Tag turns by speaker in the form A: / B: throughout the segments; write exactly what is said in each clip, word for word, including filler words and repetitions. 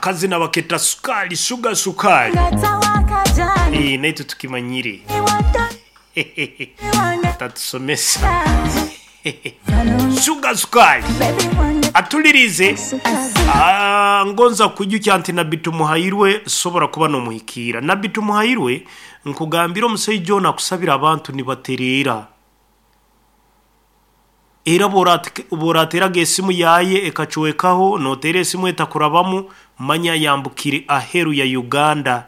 A: Akazina baketa sukali, shuga sukali. Eh, naitu tukimanyire tatusomesa shuga sukali atulirize. Ah, ngonza kwijukya nti Nabbi Tumuhairwe sobola kuba nomuhikiira. Nabbi Tumuhairwe, nkugambira, omusaija ono akusabira abantu nibatereera, era bworateraga esimu yaye ekacwekaho, notera esimu etakurabamu, manya yambukire aheru ya Uganda,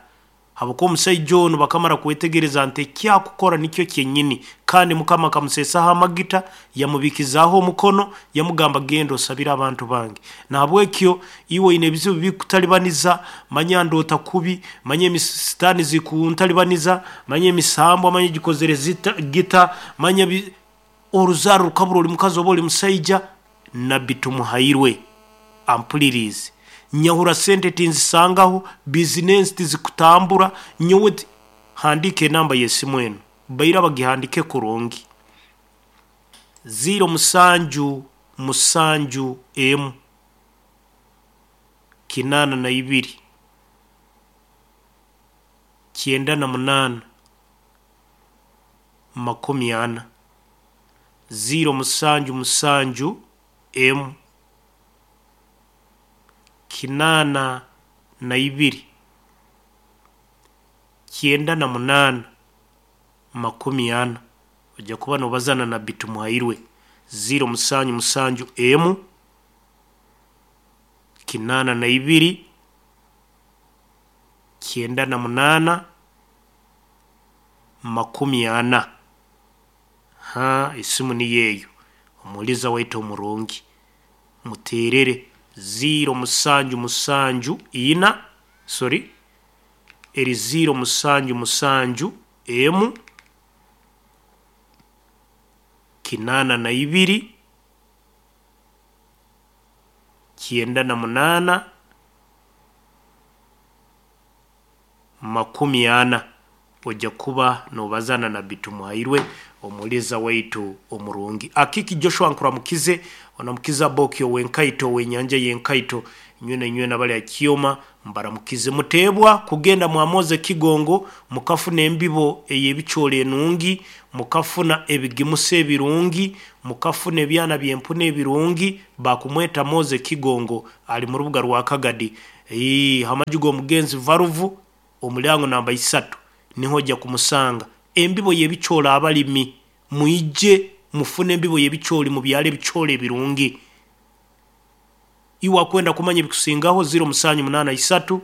A: habwokuba omusaija onu bakamara kwetegereza nti ekyakukora nikyo kyenyini, kandi Mukama akamuseesaho amagita, yamubikizaaho omukono, yamugamba, "Genda osabire abantu bange." Nahabwekyo iwe oine ebizibu bikutalibaniza, manya ndoota kubi, manya emisitaani zikuntalibaniza, manya emisambwa, manya gikozere zita gita, manya bi- oruzaaro rukabura, oli mukazi oba oli musaija, Nabbi Tumuhairwe ampulirize. Nyahura sente tinzisangaho, bizinensi tizikutambura nyowe ti- handika enamba y'esimu eno, baira bagihandike kurungi: ziro musanju musanju emu kinaana na ibiri kyenda na munaana makumi ana, ziro musanju musanju emu kinaana na ibiri kyenda na munaana makumi ana. Ojja kuba nobazana Nabbi Tumuhairwe. Ziro musanju musanju emu kinaana na ibiri kyenda na munaana makumi ana. Ha, esimu niyo eyo. Omuliza waitu omurungi, muterere ziro musanju musanju ina, sorry, eri ziro musanju musanju emu kinaana na ibiri kyenda na munaana makumi ana. Ojja kuba nobazana Nabbi Tumuhairwe, omuliza waitu omurungi. Akiki Joshua, nkuramukize, onamukiza Bokyo wenkaito, wenyanja yenkaito, nywena nywena bali akioma mbaramukize. Muteebwa kugenda mwamoze Kigongo, mukafuna embibo ey'ebicoolo enungi, mukafuna ebigimusa ebirungi, mukafuna ebyana byempuna ebirungi. Bakumweta Moze Kigongo, ali mu rubuga rwa Kagadi. Ii, hamaju g'omugenzi Varuvu, omulyango namba isatu, niho ojja kumusanga. Embibo y'ebicoolo, abalimi mwije mufune embibo y'ebicooli, mubyale ebicoolo ebirungi. Iwe akwenda kumanya ebikusingaho, ziro musanju munaana isatu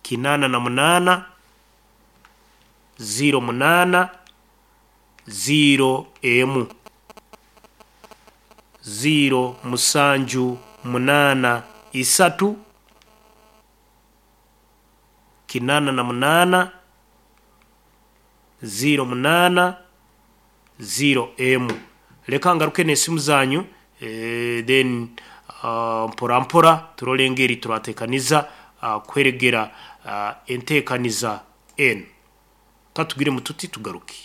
A: kinaana na munaana ziro munaana ziro emu, ziro musanju munaana isatu kinaana na munaana ziro munaana ziro emu. Leka ngaruke n'esimu zanyu, eh, then uh, mpora mpora turole engeri turatekaniza uh, kweregera uh, entekaniza enu. Katugire mututi tugaruke.